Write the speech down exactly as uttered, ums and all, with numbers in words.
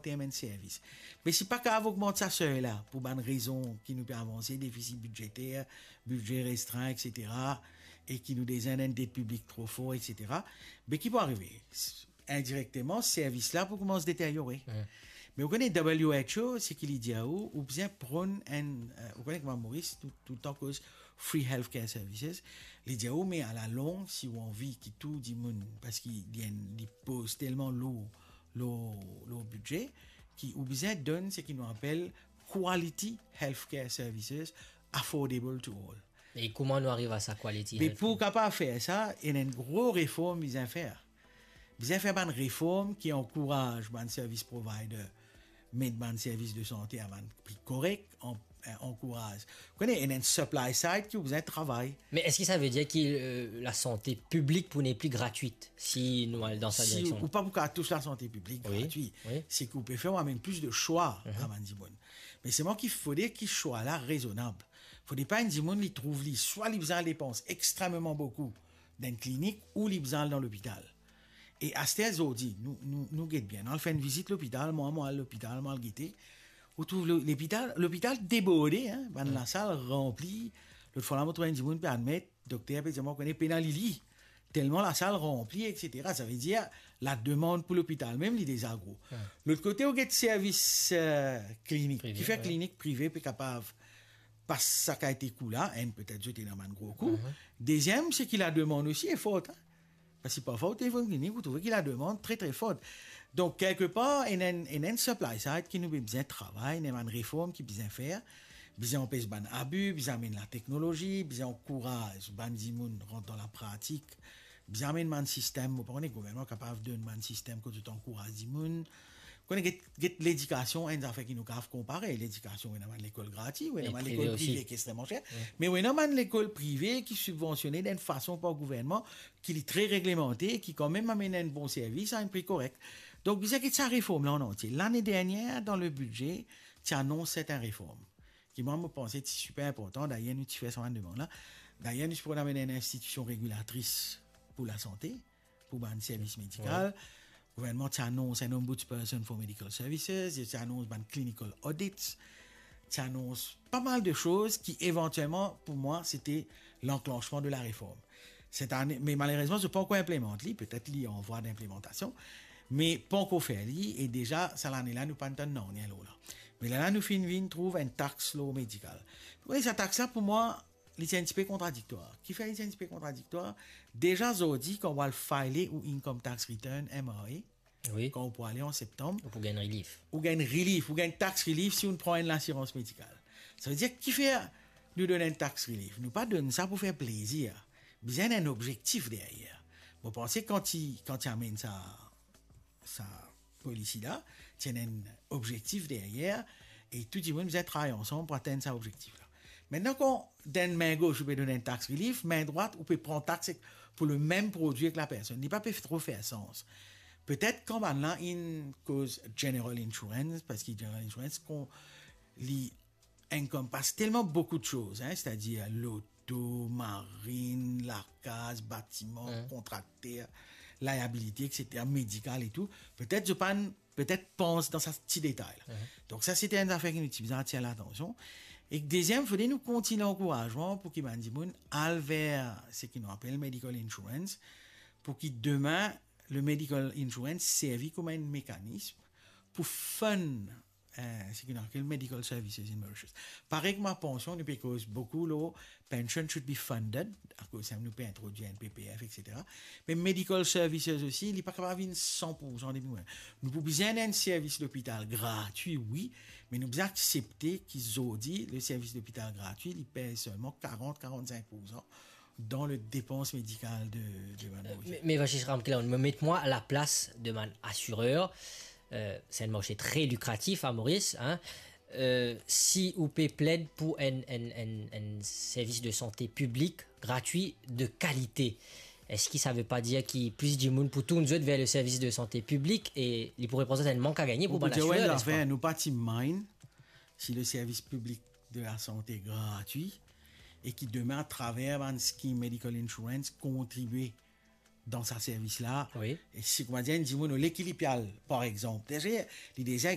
term enn servis. Me si pa kapav ogmant sa sey la, pou bann rezon ki nou pe avanse, defisi bidzeter, bidze restrin, et cetera, e ki nou deza ena enn det piblik tro for, et cetera, be ki pou arive? Indirekteman, servis la pou koumans deteryore. Hmm. Me ou kone W H O, seki li dir ou, ou bizin pran enn, eh, ou kone kouma Moris, tou, toultan koz free healthcare services, li dir ou, me alalong, si ou anvi ki tou dimoun, parski li enn, li poz telman lour, lour, lour bidze, ki ou bizin donn seki nou apel quality healthcare services affordable to all. E kouma nou ariv a sa quality healthcare? Me pou kapav fer sa, ena enn gro reform bizin fer. Bizin fer bann reform ki ankouraz bann service provider met bann servis de sante a bann pri korek, an-, eh, ankouraz. Ou kone, ena enn supply side ki ou bizin travay. Me eski sa ve dir ki, eh, lasante piblik pou nepli gratwit si nou al dan sa direksion? Si ou pa pou kapav tous lasante piblik gratwi, wi, seki ou pe fer, ou amenn plis de swa a bann dimoun. Me selman ki fode ki swa la rezonab. Fode pa enn dimoun li trouv li, swa li bizin al depans extrememan boukou dan enn klinik, ou li bizin al dan lopital. E aster zordi, nou, nou, nou get bien. Nou al fer enn vizit lopital, mwa, mwa al lopital, mwa al gete. Ou trouv lo-, lopital, lopital deborde, hein, bann lasal ranpli. Lot fwa la, mo trouv enn dimoun pe admet, dokter pe dir mwa, kone pena li li. Telman lasal ranpli, et cetera. Sa ve dir, lademann pou lopital mem, li deza gro. Lot kote, ou get servis, eh, klinik. Prive, ki fer klinik prive pe kapav pas sa kalite kou la, enn, petet zot ena bann gro kou. Deziem, seki lademann osi e for, hein. Parski parfwa ou telefonn klinik, ou trouve ki lademann tre, tre for. Donk, kelkepar, ena enn, ena enn supply side ki nou bizin travay, ena bann reform ki bizin fer, bizin anpes bann abi, bizin amenn lateknolozi, bizin ankouraz bann dimoun rant dan lapratik, bizin amenn bann sistem, mo pa kone, gouvernman kapav donn bann sistem kot zot ankouraz dimoun, kone get, get ledikasion, enn zafer ki nou kapav konpare. Ledikasion, ou ena bann lekol gratwi, ou ena bann lekol prive ki extreman ser, me ou ena bann lekol prive ki sibvansione dan enn fason par gouvernman ki li tre reglemante, ki kanmem amenn enn bon servis a enn pri korek. Donk, bizin get sa reform la an antie. Lane dernier, dan le bidze, ti anons sertin reform ki mwa, mo panse ti siper inportan. Dayer, nou ti fer sa bann demann la. Dayer, nou ti pou amenn enn institision regilatris pou lasante, pou bann servis medikal. Gouvernman ti anons enn Ombudsperson for Medical Services, ti anons bann clinical audits, ti anons pa mal de soz ki, evantielman, pou mwa, sete lanklansman de lareform. Set ane, me malerezman, zot pankor inplemant li, petet li an vwa dinplemantasion, me pankor fer li, e deza, sa lane la, nou pa'nn tann nanye lor la. Me la, la, nou finn vinn trouv enn tax lor medikal. Wi, sa tax la, pou mwa, li ti enn tipe kontradiktwar. Kifer li ti enn tipe kontradiktwar? Deza zordi, kan ou al file ou income tax return, M R A, wi, kan ou pou ale an septanm, ou pou gagn relief. Ou gagn relief, ou gagn tax relief si ou pran enn lasirans medikal. Sa ve dir, kifer nou donn enn tax relief? Nou pa donn sa pou fer plezir. Bizin enn objektif deryer. Mo panse kan ti, kan ti amenn sa, sa polisi la, ti ena enn objektif deryer, e tou dimoun bizin travay ansam pou atenn sa objektif la. Aster, kan dan enn min gos ou pe donn enn tax relief, min drwat ou pe pran tax ek, pou lemem prodwi ek lapersonn. Li pa pe tro fer sans. Petet kan bann la inn koz general insurance, parski general insurance, kan li encompass telman boukou de soz, hein, setadir loto, marinn, lakaz, batiman, kontrakter, liability, et cetera, medikal e tou. Petet zot pa'nn, petet pans dan sa ti detay la. Donk sa, sete enn zafer ki nou ti bizin atir latansion. E deziem, fode nou kontigne ankourazman pou ki bann dimoun al ver seki nou apel medical insurance, pou ki demin, le medical insurance servi kouma enn mekanism pou fund, eh, seki nou apel medical services in Mauritius. Parey kouma pansion, nou pe koz boukou lor pension should be funded, akoz sa nou pe introdwir enn P P F, et cetera. Me medical services osi, li pa kapav vinn san pour san depi mwa. Nou pou bizin enn servis lopital gratwi, wi, me nou bizin aksepte ki zordi, le servis lopital gratwi, li pez selman karant, karant-sink pour san dan le depans medikal de, de bann Morisien. Me, me Vasis Ramkalawan, mo met mwa a laplas de bann asirer. Eh, se enn marse tre likratif a Moris, hein. Eh, si ou pe pled pou enn, enn, enn, enn servis de sante piblik, gratwi, de kalite, eski sa ve pa dir ki plis dimoun pou tourn zot ver le servis de sante piblik e li pou reprezant enn mank a gagne pou bann asirer, nespa? Nou pa ti mind si le servis piblik de lasante gratwi, e ki demin, atraver bann scheme medical insurance, kontribie dan sa servis la. Wi. E si, koumadir, enn dimoun, olie ki li pe al, par exanp, deza, li deza